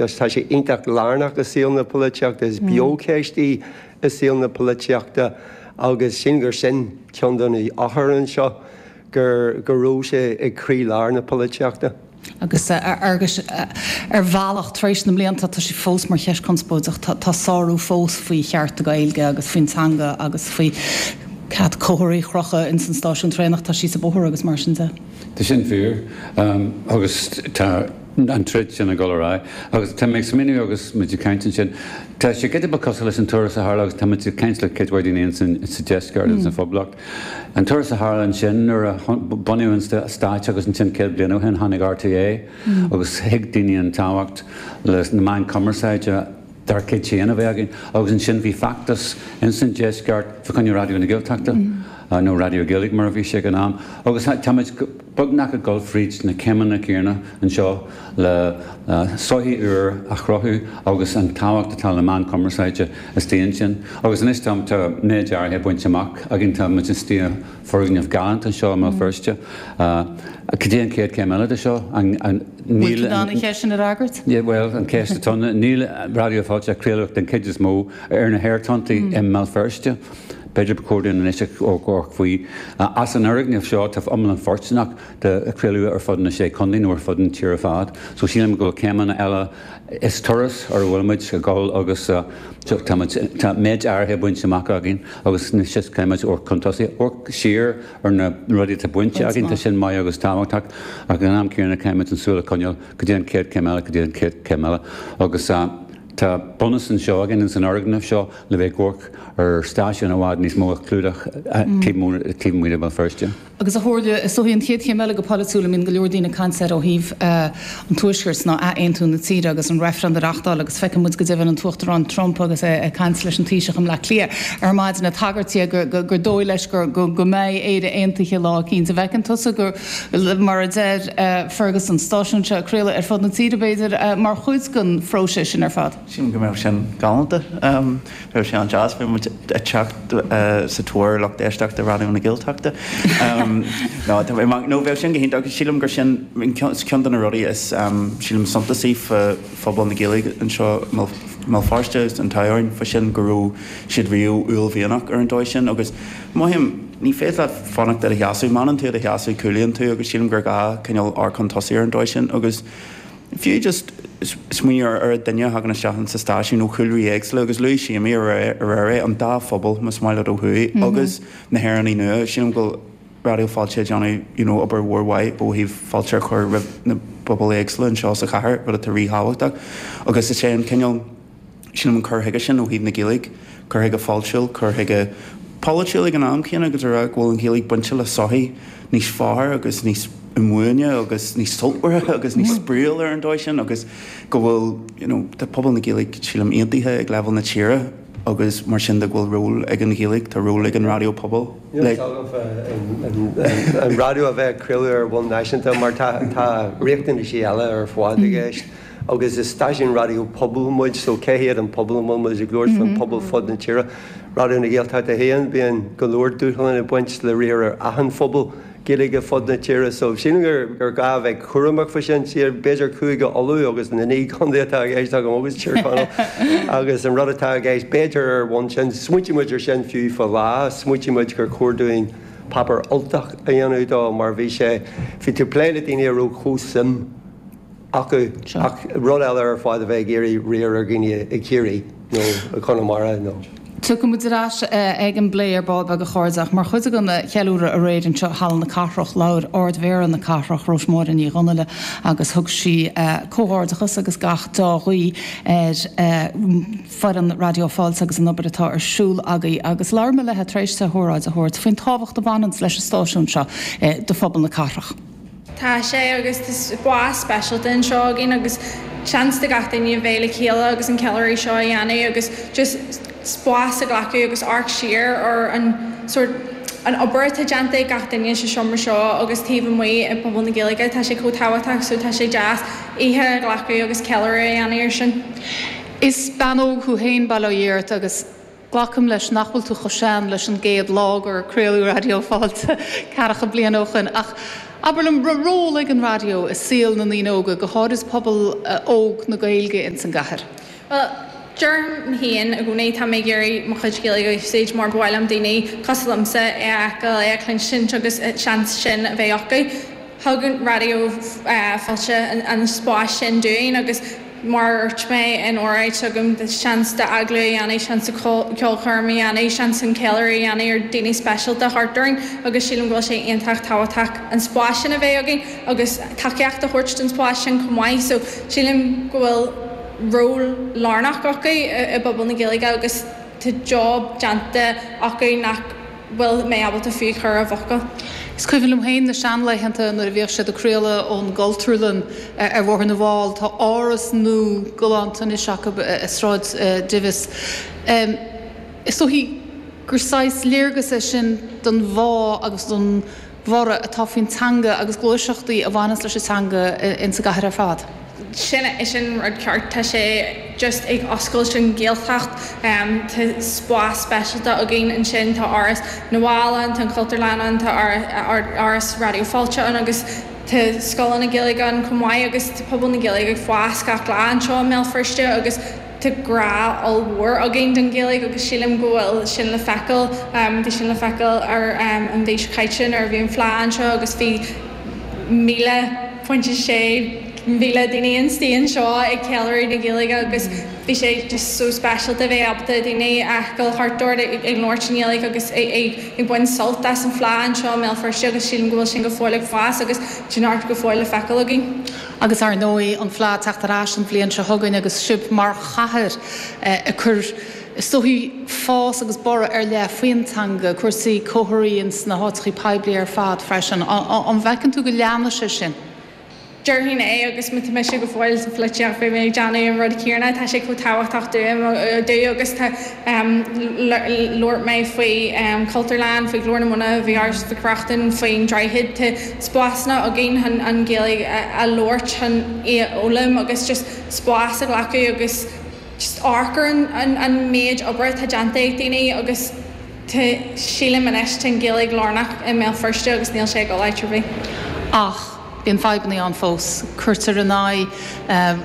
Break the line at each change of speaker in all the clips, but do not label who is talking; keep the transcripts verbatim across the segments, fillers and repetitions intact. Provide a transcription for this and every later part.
polaitíochta, tá sé iontach lárnach i saol na polaitíochta, is beocheist í i saol na polaitíochta agus sin gur sin ceann de na eochair anseo gur go raibh sé ag croílár na polaitíochta.
Agus agus ar bhealach tar éis na mblianta tá sé fós mar cheist conspóideach tá sárú fós faoi chearta Gaeilge agus faoin teanga agus faoi cead comharthaí a chrochadh in san stáisiún traenach tá sí sa bóthar agus mar sin de.
Tá sin fíor agus tá an troid sin ag dul ar aghaidh agus tá mé ag smaoineamh agus muid ag caint ansin. Tá sé giota beag cosúil leis an turas a tharla agus tá muid ag caint le cuid mhaith daoine sa deisceart sa Phoblacht. An turas a tharla ansin nuair a bunaíodh an stáit agus ansin céad bliain ó shin tháinig RTÉ agus thuig daoine an tábhacht le na meáin cumarsáide dár gcuid féin a bheith againn agus ansin bhí feachtas insan deisceart fá choinne Raidió na Gaeltachta nó Raidió Gaeilge mar a bhí sé ag an am agus táimid beagnach ag dul fríd na céimeanna céanna anseo le sochaí úr a chruthú agus an tábhacht atá le meán cumarsáide istigh ansin. Agus anois tá tá méid áirithe bainte amach againn tá muid istigh i bhfoirgneamh galánta anseo i mBéal Feirste. Cad é an chéad chéim eile de seo?
Níl an cheist sin a fhreagairt?
Well an ceist atá níl Raidió Fáilte ag craoladh den chuid is mó ar na haerthonntaí i mBéal Feirste. B'fhéidir ba chóir dúinn anois amharc faoi as an fhoirgneamh seo tá iomlán fóirsteanach de chraoladh ar fud na sé chontae nó ar fud an tír ar fad. So sílim go bhfuil céimeanna eile is turas ar a bhfuil muid ag dul agus tá méid áirithe bainte amach againn agus anois caithfimid amharc chun tosaigh, amharc siar ar na rudaí atá bainte againn, tá sin maith agus tábhachtach ach ag an am céanna caithfimid an súil a choinneáil go dtí an chéad chéim eile, go dtí an chéad chéim eile agus tá bunús anseo againn san fhoirgneamh seo le bheith ag amharc ar stáisiún i bhfad níos mó a chlúdach taobh amuigh de Bhéal Feirste.
Agus a Shomhairle, is dóigh an chéad chéim eile go polaitiúil a mbíonn go leor daoine ag caint air ó thaobh an Tuaiscirt ná athaontú na tíre agus an reifreann a reáchtáil agus feiceann muid go deimhin an tUachtarán Trump agus é ag caint leis an Taoiseach i mBleá Cliath ar maidin ag tagairt gur gur dóigh leis gur go mbeidh Éire aontaithe lá eicínt. An bhfeiceann tusa gur mar a deir Fergus an stáisiún seo ag craoladh ar fud na tíre b'fhéidir mar chuid den phróiseas sin ar fad.
Sílim go mbeadh sin galánta. Bheadh sé an-deas, bheadh muid ag teacht sa tóir lucht éisteachta Raidió na Gaeltachta. No, nó bheadh sin go hiontach agus sílim gur sin ceann de na rudaí is sílim suntasaí fá phobal na Gaeilge anseo i mBéal Feirste agus an t-ádh orainn fá sin go raibh siad riamh uaillmhianach ar an dóigh sin agus mothaím ní féidir leat fanacht i do sheasamh, má fhanann tú i do sheasamh cúlaíonn tú agus sílim gur gá cineál amharc chun tosaigh ar an dóigh sin agus Fiú just smaoineamh ar oiread duine a thagann isteach sa stáisiún ó chúlraí éagsúla agus luaigh Séimí aréir é, an dá phobal, más maith leat ó thuaidh agus na hÉireannaigh nua. Sílim go bhfuil Raidió Fáilte ag déanamh you know obair mhór mhaith ó thaobh fáilte a chur roimh na pobail éagsúla anseo sa chathair, rud atá ríthábhachtach agus is é an cineál Sílim an cur chuige sin ó thaobh na Gaeilge, cur chuige fáiltiúil, cur chuige polaitiúil ag an am céanna agus a rá go bhfuil an Ghaeilge bainte le sochaí níos fearr agus níos inbhuaine agus níos sultmhaire agus níos spraíúil ar an dóigh sin agus go bhfuil you know tá pobal na Gaeilge sílim aontaithe ag leibhéal na tíre agus mar sin de go bhfuil ról ag an Ghaeilge, tá ról ag an raidió pobail
le. An raidió a bheith ag craoladh ar bhonn náisiúnta mar tá riachtanaisí eile ar fad i gceist. Agus is stáisiún raidió pobail muid, so cé hiad an pobal a bhfuil muid ag labhairt faoin pobal fud na tíre? Raidió na Gaeltachta féin, bíonn go leor dúshlán ag baint le riar ar achan phobal Gaeilge fud na tíre, so sílim gur gur gá a bheith cúramach faoi sin. B'fhéidir Cúige Uladh agus na naoi gcontae atá i gceist agam agus Tír Chonaill agus an rud atá i gceist, b'fhéidir ar bhonn sin, smaointigh muid ar sin fiú fá Lá, smaointigh muid gur chóir dúinn páipéar Ultach a dhéanamh dó mar bhí sé, bhí tú ag plé le daoine a raibh chomh suim acu ach rud eile ar fad a bheith ag iarraidh riar ar dhaoine i gCiarraí nó i gConamara nó.
Tiocfaidh muid ar ais ag an bplé ar ball beag a chairde ach mar chuid den cheiliúradh aréir anseo i Halla na Cathrach labhair Ard-Mhéara na Cathrach, Róismáire Ní Dhonnaile agus thug sí comhghairdeachas agus gach dea-ghuí ar foireann Raidió Fáilte agus an obair atá ar siúl agaibh agus labhair mé léi tar éis di a hóráid a thabhairt faoin tábhacht a bhaineanns leis an stáisiún seo do phobal na cathrach.
Tá sé agus tá spás speisialta anseo againn agus seans do gach duine a bheith le chéile agus an ceiliúradh seo a dhéanamh agus just spás a ghlacadh agus amharc siar ar an sórt an obair atá déanta ag gach duine sa seomra seo agus taobh amuigh i bpobal na Gaeilge. Tá sé chomh tábhachtach so tá sé deas oíche a ghlacadh agus ceiliúradh a dhéanamh air sin.
Is bean óg thú féin, bail ó Dhia ort, agus Glacaim leis nach bhfuil tú chomh sean leis an gcéad lá gur craoladh Raidió Fáilte ceathracha bliain ó shoin, ach Abair liom, raibh ról ag an raidió i saol na ndaoine óga, go háirid pobal óg na Gaeilge ins an gcathair?
Bhuel, deirim féin i gcónaí, tá mé ag iarraidh mo chuid Gaeilge a úsáid mar ba mhaith liom daoine cosúil liomsa é a fheiceáil, é a chluinstin agus seans sin a bheith acu. Thug an Raidió Fáilte an spás sin dúinn agus mar a dúirt mé in óráid s'agam, seans d'agallamh a dhéanamh, seans de cheolchoirm a dhéanamh, seans an ceiliúradh a dhéanamh ar daoine speisialta thart orainn agus sílim go bhfuil sé iontach tábhachtach an spás sin a bheith againn agus tacaíocht a thabhairt don spás sin chomh maith. So sílim go bhfuil ról lárnach acu i bpobal na Gaeilge agus tá job déanta acu nach bhfuil mé ábalta fiú chur i bhfocail.
Is cuimhin liom féin na seanlaethanta nuair a bhíodh siad ag craoladh ón gCultúrlann ar Bhóthar na bhFál. Tá áras nua galánta anois acu i Sráid Divis. Is dóichí gur saghas léargas é sin don bhá agus don bhorradh atá faoin teanga agus gluaiseachtaí a bhaineanns leis an teanga insa gcathair ar fad.
Sin é sin rud ceart, tá sé just ag oscailt an Ghaeltacht, tá spás speisialta againn ansin, tá Áras na bhFál ann, tá an Chultúrlann ann, tá Áras Raidió Fáilte ann agus tá scoileanna Gaeilge ann chomh maith agus tá pobal na Gaeilge ag fás gach lá anseo i mBéal Feirste agus tá grá ollmhór againn don Ghaeilge agus sílim go bhfuil sin le feiceáil, bhí sin le feiceáil ar an mhí seo caite nuair a bhí an Fleadh anseo agus bhí míle pointe sé mhíle daoine istigh anseo ag ceiliúradh na Gaeilge agus bhí sé just so speisialta bheith ábalta daoine a fheiceáil thart ort ag labhairt i nGaeilge agus ag baint sult as an Fleadh anseo i mBéal Feirste agus sílim go bhfuil sin go fóill ag fás agus tá neart go fóill le feiceáil againn.
Agus ar ndóigh an Fleadh teacht ar ais an bhliain seo chugainn agus sibh mar chathair ag cur is dóichí fás agus borradh ar leith faoin teanga, cúrsaí comharthaí ins na háiteachaí poiblí ar fad freisin. An bhfeiceann tú go leanfaidh sé sin?
Déarfainn é agus má tá mise go fóill sa pholaitíocht beidh mé ag déanamh an rud céanna. Tá sé chomh tábhachtach dúinn domh agus tá labhair mé faoi Cultúrlann, faoi Ghlór na Móna, faoi Áras Mhic Reachtain, faoin Droichead. Tá spásanna againn chun an Ghaeilge a labhairt, chun í a fhoghlaim agus just spás a ghlacadh agus just amharc ar an méid obair atá déanta ag daoine agus tá sílim anois tá an Ghaeilge lárnach i mBéal Feirste agus níl sé ag dul áit ar bith.
Ach bíonn fadhbanna ann fós. Cuirtear in aghaidh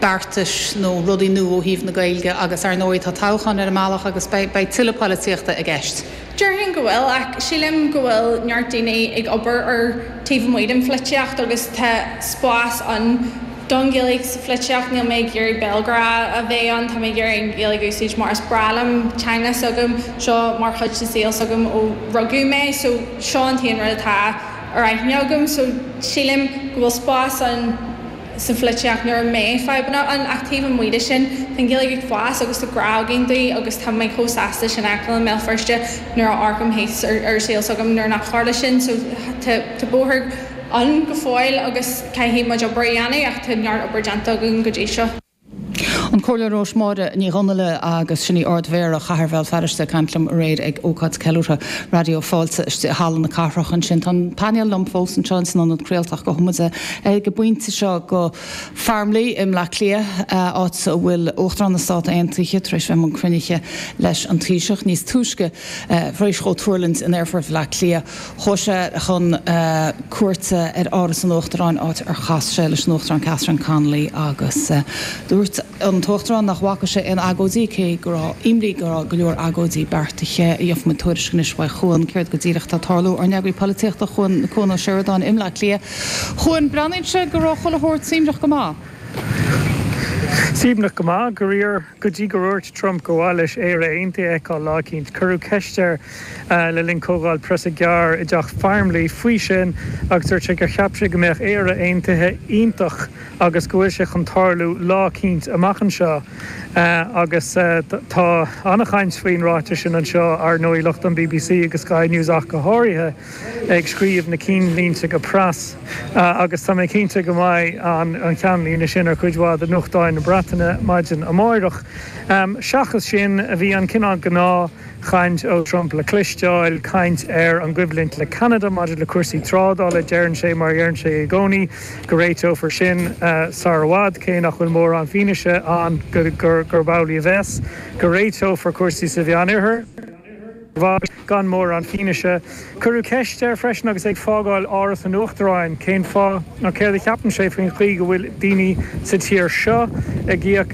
beartais nó rudaí nua ó thaobh na Gaeilge agus ar ndóigh tá toghchán ar an mbealach agus beidh tuilleadh polaitíochta i gceist.
Déarfainn go bhfuil ach sílim go bhfuil neart daoine ag obair ar taobh amuigh den pholaitíocht agus tá spás ann don Ghaeilge sa pholaitíocht. Níl mé ag iarraidh béalghrá a bheith ann, tá mé ag iarraidh an Ghaeilge a úsáid mar is breá liom, teanga s'agam, seo mar chuid de saol s'agam ó rugadh mé so seo an t-aon rud atá ar aithne agam so sílim go bhfuil spás ann sa pholaitíocht nuair a mbeidh fadhbanna ann ach taobh amuigh de sin tá an Ghaeilge ag fás agus tá grá againn di agus tá mé chomh sásta sin a fheiceáil i mBéal Feirste nuair a amharcaim thíos ar ar saol s'agam nuair nach tharla sin so tá tá bóthar ann go fóill agus caithfidh muid obair a dhéanamh ach tá neart obair déanta againn go dtí seo.
An Comhairleoir Róismáire Ní Dhonnaile agus sin í Ard-Mhéara Chathair Bhéal Feirste ag caint liom aréir ag ócáid ceiliúrtha Raidió Fáilte istigh i Halla na Cathrach ansin. Tá an painéal liom fós anseo san ionad craolta ach gabhfaidh muid ag an bpointe seo go Farmleigh i mBleá Cliath, áit a bhfuil Uachtarán na Stát Aontaithe tar éis bheith i mbun cruinnithe leis an Taoiseach níos túisce tar éis dhó tuirlingt in Aerfort Bhaile Átha Cliath. Chuaigh sé chun cuairte ar Áras an Uachtaráin áit ar chas sé leis an Uachtarán Catherine Connolly agus dúirt an tUachtarán nach bhfaca sé aon agóidí cé go raibh imní go raibh go leor agóidí beartaithe. Gheobhaidh muid tuairisc anois uaidh Chuan céard go díreach atá ag tarlú. Ár n-eagraí polaitíochta Cuan Cuan Ó Seireadáin i mBleá Cliath. Chuan, breathnaíonn sé go raibh chuile shórt suaimhneach go maith.
Suaimhneach go maith, go ríor, go dtí gur dhúirt Trump gur mhaith leis Éire Aontaithe a fheiceáil lá eicínt. Cuireadh ceist air le linn comhdháil preasa gearr i dteach Farmleigh faoi sin agus dúirt sé gur cheap sé go mbeadh Éire Aontaithe iontach agus go bhfuil sé chun tarlú lá eicínt amach anseo. Agus tá an-chaint faoin ráiteas sin anseo, ar ndóigh, lucht an bbc agus Sky News ach go háirithe, ag scríobh na cinnlínte go pras. Agus tá mé cinnte go mbeidh an cheannlíne sin ar chuid mhaith de nuachtáin na Breataine maidin amáireach. Seachas sin, bhí an cineál gnáth chaint ó Trump le cloisteáil, caint ar an gcoimhlint le Ceanada maidir le cúrsaí trádála, deireann sé, mar a dheireann sé i gcónaí, go réiteofar sin sar i bhfad, cé nach bhfuil mórán fianaise ann gurb amhlaidh a bheas, go réiteofar cúrsaí sa Mheánoirthear. mhaith gan mórán fianaise. Cuireadh ceist air freisin agus é ag fágáil Áras an Uachtaráin cén fáth nó céard a cheapann sé faoin chaoi go bhfuil daoine sa tír seo ag íoc